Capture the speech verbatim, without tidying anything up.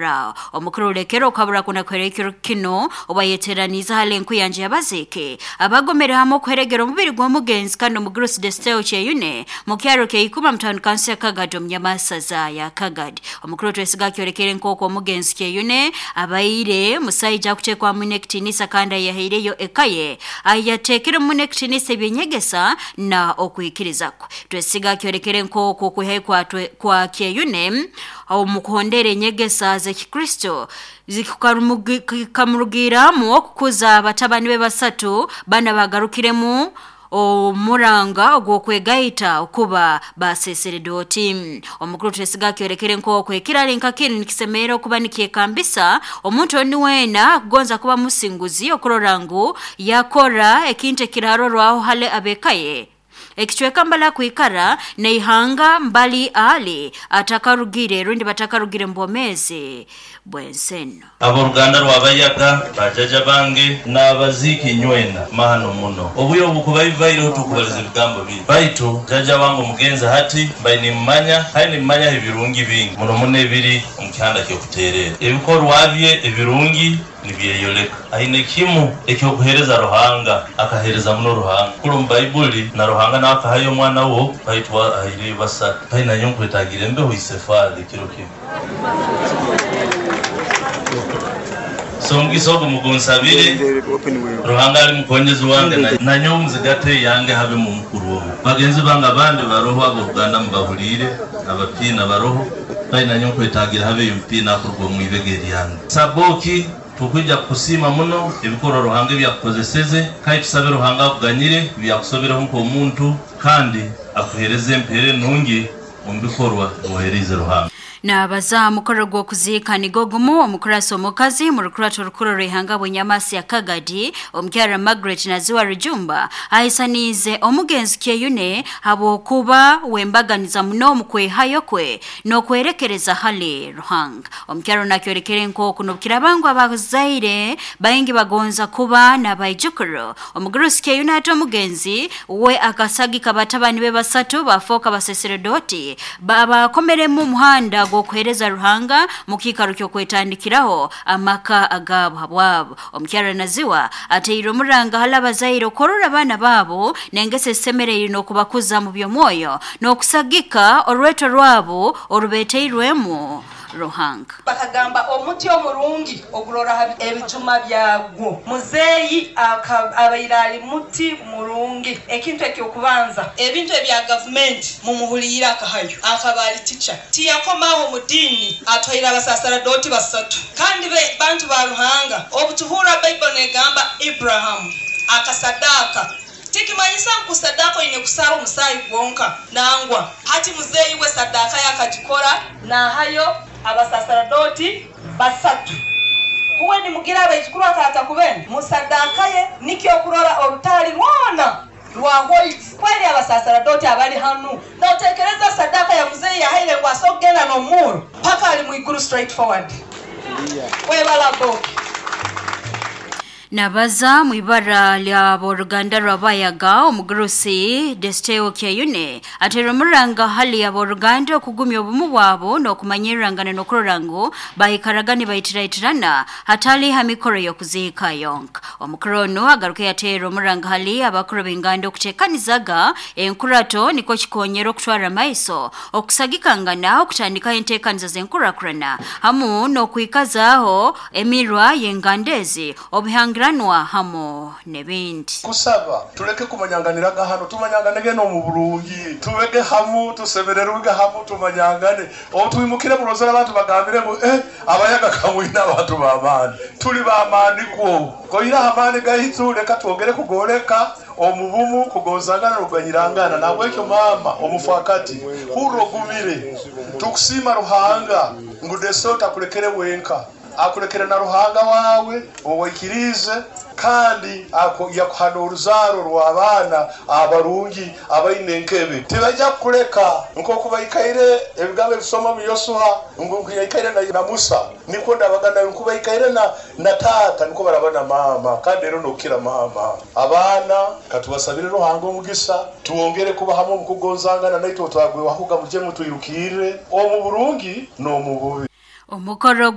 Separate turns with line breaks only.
Rao. Omukuru Ulekero okabura kuna kwerekero kino obayeteraniza hali enkuyanja y'abaziiki abagomere hamwe okuheregera omubiri gw'omugenzi kandi omugurusi Desteo Kyeyune mu kyaro Kyeikuma mu town council ya Kagadi omu nyamasaza ya Kagadi. Omukuru Twesiga akyorekere nk'oku omugenzi Kyeyune abaire musaija akuteekwamu n'ekitiinisa kandi ayahaireyo eka ye ayateekiremu n'ekitiinisa ebyenyegesa na okwikiriza kwe. Twesiga akyorekere nk'oku okwihayo kwa, kwa Kyeyune omu kuhondera enyegesa z'Ekikristo zikamurugiramu okukuza abatabani be basatu bana bagarukiremu omuranga ogw'okwegaita okuba baseseredoti. Omukuru Twesiga akyorekere nk'oku ekirali nka kinu nikisemerera okuba nikyekambisa omuntu oni weena akugonza kuba musinguzi okurora ngu yakora ekintu ekiraarorwaho hali ab'eka ye ekicweka mbali akwikara n'eihanga mbali ali atakarugire rundi batakarugire mu bwomeezi bw'ensi eno.
Abooluganda rw'abayaga bajaja bange n'abaziiki nywena mahano muno obuyo obukubaivaireho tukubaliza ebigambo biri baitu jaja wange omugenzi hati mbai nimmanya kandi nimmanyaho ebirungi bingi muno muno ebiri omu kihanda ky'okuteerera ebikorwa bye ebirungi nibyeyoleka aine kimu ekyokuheereza Ruhanga akaheereza muno Ruhanga kuli omu Baibuli na Ruhanga nawe akahayo omwana wo baitu ahaireyo basatu pai nanyowe nkwetagire embeho isefaali ekiro kimu. So omugisa ogu mugunsabire Ruhanga ali mukonyezi wange nanyowe muzigate yange habe mu mukuru omu bagenzi bange abandi baroho abooluganda mubahuliire abapiina baroho pai nanyowe nkwetagira habeyo omupiina akuruga omu ibega eryange. Saboki tukwija kusiima muno ebikorwa Ruhanga ebyakukozeseze kandi tusabe Ruhanga akuganyire ebyakusobereho nk'omuntu kandi akuheereze empeera enungi omu bikorwa oheerize Ruhanga.
Nabaza mukoro gw'okuziika nigo gumu omukurasi omukazi mu rukurato rukuru rw'ihanga bw'enyamasi ya Kagadi omukyara Margaret Naziwa Rujumba ahisaniize omugenzi Kyeyune habwokuba wembaganiza muno omu kwehayo kwe n'okwerekereza hali Ruhanga. Omukyara nakyorekere nk'oku n'obukirabangu abazaire baingi bagonza kuba n'abaijukuru. Omugurusi Kyeyune ate omugenzi we akasagika batabani be basatu bafooka baseseredoti babakomeremu omuhanda gw'okuheereza Ruhanga mu kiikaro ky'okwetandikiraho amaka agaabo habwabo. Omukyara Naziwa ateire omuranga hali abazaire okorora abaana baabo n'engeso esemereire n'okubakuza mu by'omwoyo n'okusagika orweto rwabo orubeeteirwemu Ruhanga.
Bakagamba omuti omurungi ogurora ebijuma byagwo. Muzeeyi abaire ali muti murungi. Ekintu ekyokubanza ebintu ebya gavumenti mumuhuliire akahayo akaba ali tica tiyakomaho mu ddiini atwaire abasasaradoti basatu kandi be bantu ba Ruhanga. Obutuhurra Baibuli negamba Ibrahamu akasadaka tikimanyisa ngu sadaka oine kusara omusaayi gwonka nangwa hati muzeeyi we sadaka yakagikora nahayo abasasaradoti basatu kuwe nimugira abaijukuru atata kubene musadaka ye nikyo okurora orutali rwona rwa white kweli abasasaradoti abali hanu notekereza sadaka ya muzeeyi yahaire ngu asogenda n'omuro paka ali mwiguru straight forward webala boki.
Nabaza mu ibara lya boruganda rw'abayaga omugurusi Desteo Kyeyune atera omuranga hali ya boruganda okugumya obumu bwabo n'okumanyirangana n'okurora ngu baikaraga nibaitirahitirana hatali ha mikoro y'okuziika yonka. Omukuru ono agaruka yateera omuranga hali abakuru b'enganda okuteekanizaga enkurato nikwo kikonyera okutwara amaiso okusagikangana okutandikaho enteekaniza z'enkurakurana hamu n'okwikazaaho emirwa y'enganda ezi obuhangira hamo n'ebindi.
Kusaba tuleke kumanyanganiraga hano tumanyanganege n'omu bulungi tubege hamu tusemererwege hamu tumanyangane otwimukire mulozera abantu bagambire ngu eh abayaga kamwina abantu b'amaani tuli b'amaani kwo koira amaani gaitu leka twongere kugoleka omubumu kugozangana n'okuganyirangana. Nabwekyo maama omufakati hurra ogumire tukusiima Ruhanga ngu Desteo takulekere wenka akulekere na Ruhanga wawe owaikirize kandi yakuhana oruzaaro rw'abaana abarungi abaine enkebe tibajja kukuleka nk'oku baikaire ebigambo ebisoma mu Yosuha ngu yaikaire na, na Musa nikwo ndabaga nawe nku baikaire na, na taata nikwo baraba na maama kandi rero nokukira maama. Abaana katubasabire Ruhanga omugisa tuwongere kuba hamwe omu kugonzangana naitwe twagwewahuga muje mutwirukirire omu burungi n'omu bubi.
Omukoro